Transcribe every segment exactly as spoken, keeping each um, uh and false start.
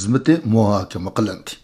خىزمىتى مۇھاكىمە قىلىندى.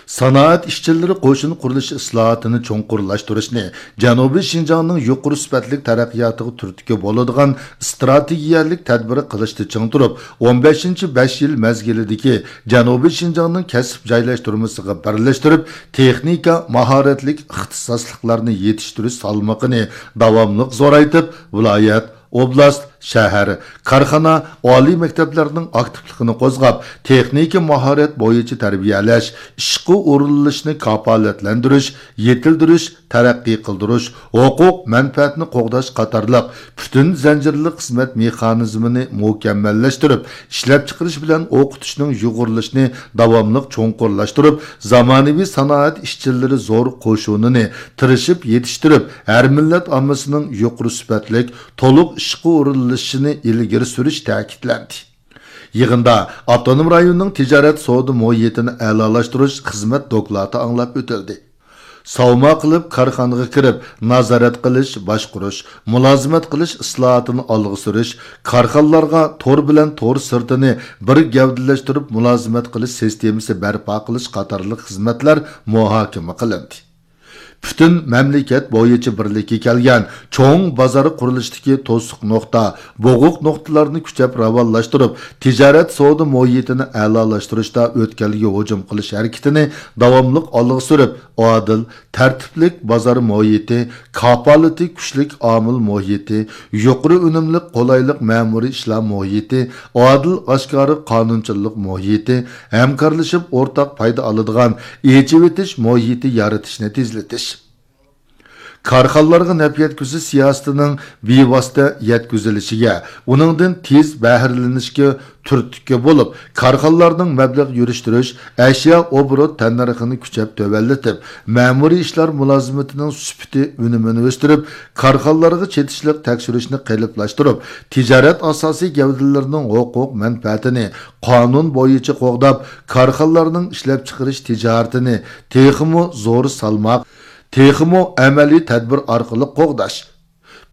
سانائەت ئىشچىلىرى قوشۇن قۇرۇلۇشى ئىسلاھاتىنى چوڭقۇرلاشتۇرۇشنى، جەنۇبىي شىنجاڭنىڭ يۇقىرى سۈپەتلىك تەرەققىياتىغا تۈرتكە بولىدىغان ئىستراتېگىيەلىك تەدبىر قىلىشتا چىڭ تۇرۇپ، ئون بەشىنچى بەش يىل مەزگىلىدىكى جەنۇبىي شىنجاڭنىڭ كەسىپ جايلاشتۇرمىسىغا بىرلەشتۈرۈپ، تېخنىكا ماھارەتلىك ئىختىساسلىقلارنى يېتىشتۈرۈش سالمىقىنى داۋاملىق زورايتىپ، ۋىلايەت، ئوبلاست، شەھەر، كارخانا، ئالىي مەكتەپلەرنىڭ ئاكتىپلىقىنى قوزغاپ، تېخنىكا ماھارەت بويىچە تەربىيەلەش، ئىشقا ئورۇنلىشىشنى كاپالەتلەندۈرۈش، يېتىلدۈرۈش، تەرەققىي قىلدۇرۇش، ھوقۇق مەنپەئەتنى قوغداش قاتارلىق پۈتۈن زەنجىرلىق خىزمەت مېخانىزمىنى مۇكەممەللەشتۈرۈپ، ئىشلەپچىقىرىش بىلەن ئوقۇتۇشنىڭ يۇغۇرۇلۇشىنى داۋاملىق چوڭقۇرلاشتۇرۇپ، زامانىۋى سانائەت ئىشچىلىرى زور قوشۇنىنى تىرىشىپ يېتىشتۈرۈپ، ھەر مىللەت ئاممىسىنىڭ يۇقىرى سۈپەتلىك، تولۇق ئىشقا ئورۇنلىشىشىنى ئىلگىرى سۈرۈش تەكىتلەندى. يىغىندا ئاپتونوم رايوننىڭ تىجارەت سودا مۇھىتىنى ئەلالاشتۇرۇش خىزمەت دوكلاتى ئاڭلاپ ئۆتۈلدى. ساۋما قىلىپ كارخانىغا كىرىپ، نازارەت قىلىش، باشقۇرۇش، مۇلازىمەت قىلىش ئىسلاھاتىنى ئالغا سۈرۈش، كارخانىلارغا تور بىلەن تور سىرتىنى بىر گەۋدىلەشتۈرۈپ مۇلازىمەت قىلىش سىستېمىسى بەرپا قىلىش قاتارلىق خىزمەتلەر مۇھاكىمە قىلىندى. پۈتۈن مەملىكەت بويىچە بىرلىككە كەلگەن چوڭ بازار قۇرۇلۇشىدىكى توسۇق نۇقتا، بوغۇق نۇقتىلارنى كۈچەپ راۋانلاشتۇرۇپ، تىجارەت سودا مۇھىتىنى ئەلالاشتۇرۇشتا ئۆتكەلگە ھۇجۇم قىلىش ھەرىكىتىنى داۋاملىق ئالغا سۈرۈپ، ئادىل، تەرتىپلىك بازار مۇھىتى، كاپالىتى كۈچلۈك ئامىل مۇھىتى، يۇقىرى ئۈنۈملۈك قولايلىق مەمۇرىي ئىشلار مۇھىتى، ئادىل ئاشكارا قانۇنچىلىق مۇھىتى، ھەمكارلىشىپ ئورتاق پايدا ئالىدىغان ئېچىۋېتىش مۇھىتى يارىتىشنى تېزلىتىش. كارخانىلارغا نەپ يەتكۈزۈش سىياسىتىنىڭ بىۋاسىتە يەتكۈزۈلۈشىگە، ئۇنىڭدىن تېز بەھرىلىنىشكە تۈرتكە بولۇپ، كارخانىلارنىڭ مەبلەغ يۈرۈشتۈرۈش، ئەشيا ئوبوروت تەننەرخىنى كۈچەپ تۆۋەنلىتىپ، مەمۇرىي ئىشلار مۇلازىمىتىنىڭ سۈپىتى ئۈنۈمىنى ئۆستۈرۈپ، كارخانىلارغا چېتىشلىق تەكشۈرۈشنى قېلىپلاشتۇرۇپ، تىجارەت ئاساسىي گەۋدىلىرىنىڭ ھوقۇق مەنپەئەتىنى قانۇن بويىچە قوغداپ، كارخانىلارنىڭ ئىشلەپچىقىرىش تىجارىتىنى تېخىمۇ زور سالماق، تېخىمۇ ئەمەلىي تەدبىر ئارقىلىق قوغداش.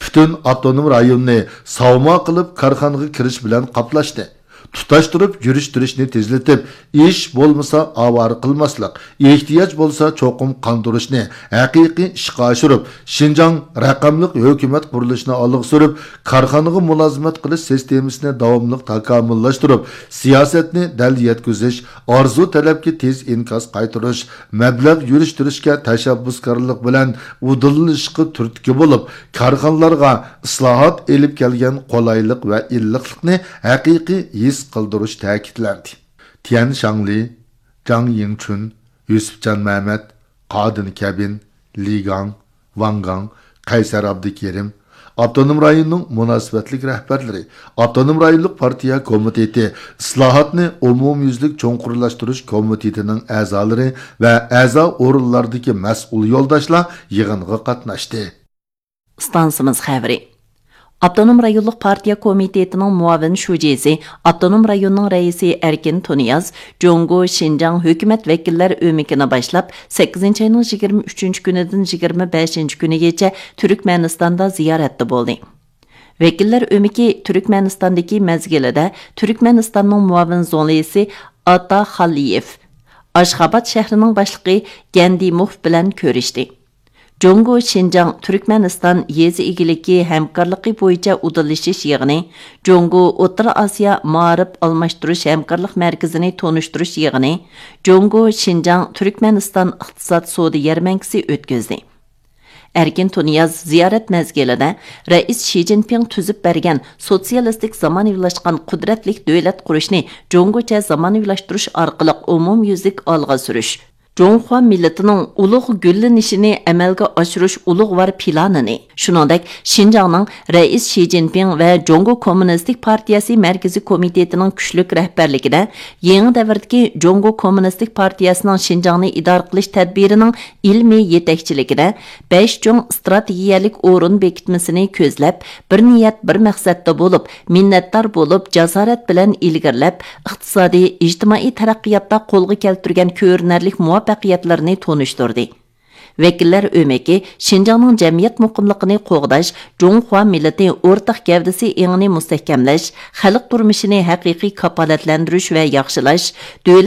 پۈتۈن ئاپتونوم رايوننى ساۋما قىلىپ كارخانىغا كىرىش بىلەن قاپلاشنى، تۇتاشتۇرۇپ يۈرۈشتۈرۈشنى تېزلىتىپ، ئىش بولمىسا ئاۋارە قىلماسلىق، ئېھتىياج بولسا چوقۇم قاندۇرۇشنى ھەقىقىي ئىشقا ئاشۇرۇپ، شىنجاڭ رەقەملىك ھۆكۈمەت قۇرۇلۇشىنى ئالغا سۈرۈپ، كارخانىغا مۇلازىمەت قىلىش سىستېمىسىنى داۋاملىق تاكامۇللاشتۇرۇپ، سىياسەتنى دەل يەتكۈزۈش، ئارزۇ تەلەپكە تېز ئىنكاس قايتۇرۇش، مەبلەغ يۈرۈشتۈرۈشكە تەشەببۇسكارلىق بىلەن ئۇدۇللىنىشقا تۈرتكە بولۇپ، كارخانىلارغا ئىسلاھات ئېلىپ كەلگەن قولايلىق ۋە ئىللىقلىقنى ھەقىقىي ھېس قىلدۇرۇش تەكىتلەندى. تيەن شاڭلى، جاڭ يىڭچۈن، يۈسۈپجان مەمەت، قادىن كەبىن، لى گاڭ، ۋاڭ گاڭ، قەيسەر ئابدۇكېرىم، ئاپتونوم رايوننىڭ مۇناسىۋەتلىك رەھبەرلىرى، ئاپتونوم رايونلۇق پارتىيە كومىتېتى، ئىسلاھاتنى ئومۇميۈزلۈك چوڭقۇرلاشتۇرۇش كومىتېتىنىڭ ئەزالىرى ۋە ئەزا ئورۇنلاردىكى مەسئۇل يولداشلار يىغىنغا قاتناشتى. ئىستانسىمىز خەۋىرى. ئاپتونوم رايونلۇق پارتىيە كومىتېتىنىڭ مۇئاۋىن شۇجىسى، ئاپتونوم رايوننىڭ رەئىسى ئەركىن تۇنىياز جۇڭگو شىنجاڭ ھۆكۈمەت ۋەكىللەر ئۆمىكىنى باشلاپ، سەككىزىنچى ئاينىڭ يىگىرمە ئۈچىنچى كۈنىدىن يىگىرمە بەشىنچى كۈنىگىچە تۈركمەنىستاندا زىيارەتتە بولدى. ۋەكىللەر ئۆمىكى تۈركمەنىستاندىكى مەزگىلىدە تۈركمەنىستاننىڭ مۇئاۋىن زۇڭلىسى ئاتا خالىيېف، ئاشخاباد شەھىرىنىڭ باشلىقى گەندىموف بىلەن كۆرۈشتى. جۇڭگو شىنجاڭ تۈركمەنىستان يېزا ئىگىلىكى ھەمكارلىقى بويىچە ئۇدۇللىشىش يىغىنى، جۇڭگو ئوتتۇرا ئاسىيا مائارىپ ئالماشتۇرۇش ھەمكارلىق مەركىزىنى تونۇشتۇرۇش يىغىنى، جۇڭگو شىنجاڭ تۈركمەنىستان ئىقتىساد سودا يەرمەنكىسى ئۆتكۈزدى. ئەركىن تۇنىياز زىيارەت مەزگىلىدە رەئىس شى جىنپىڭ تۈزۈپ بەرگەن سوتسىيالىستىك زامانىۋىلاشقان قۇدرەتلىك دۆلەت قۇرۇشنى جۇڭگوچە زامانىۋىلاشتۇرۇش ئارقىلىق ئومۇميۈزلۈك ئالغا سۈرۈش، جۇڭخۇا مىللىتىنىڭ ئۇلۇغ گۈللىنىشىنى ئەمەلگە ئاشۇرۇش ئۇلۇغۋار پىلانىنى، شۇنىڭدەك شىنجاڭنىڭ رەئىس شى جىنپىڭ ۋە جۇڭگو كوممۇنىستىك پارتىيەسى مەركىزىي كومىتېتىنىڭ كۈچلۈك رەھبەرلىكىدە يېڭى دەۋردىكى جۇڭگو كوممۇنىستىك پارتىيەسىنىڭ شىنجاڭنى ئىدارە قىلىش تەدبىرىنىڭ ئىلمىي يېتەكچىلىكىدە بەش چوڭ ئىستراتېگىيەلىك ئورۇن بېكىتمىسىنى كۆزلەپ، بىر نىيەت، بىر مەقسەتتە بولۇپ، مىننەتدار بولۇپ، جاسارەت بىلەن ئىلگىرىلەپ، ئىقتىسادىي، ئىجتىمائىي تەرەققىياتتا قولغا كەلتۈرگەن كۆرۈنەرلىك مۇۋەپپەقىيەتلىرىنى تونۇشتۇردى. ۋەكىللەر ئۆمىكى شىنجاڭنىڭ جەمئىيەت مۇقىملىقىنى قوغداش، جۇڭخۇا مىللىتى ئورتاق گەۋدىسى ئېڭىنى مۇستەھكەملەش، خەلق تۇرمۇشىنى ھەقىقىي كاپالەتلەندۈرۈش ۋە ياخشىلاش، دۆلەت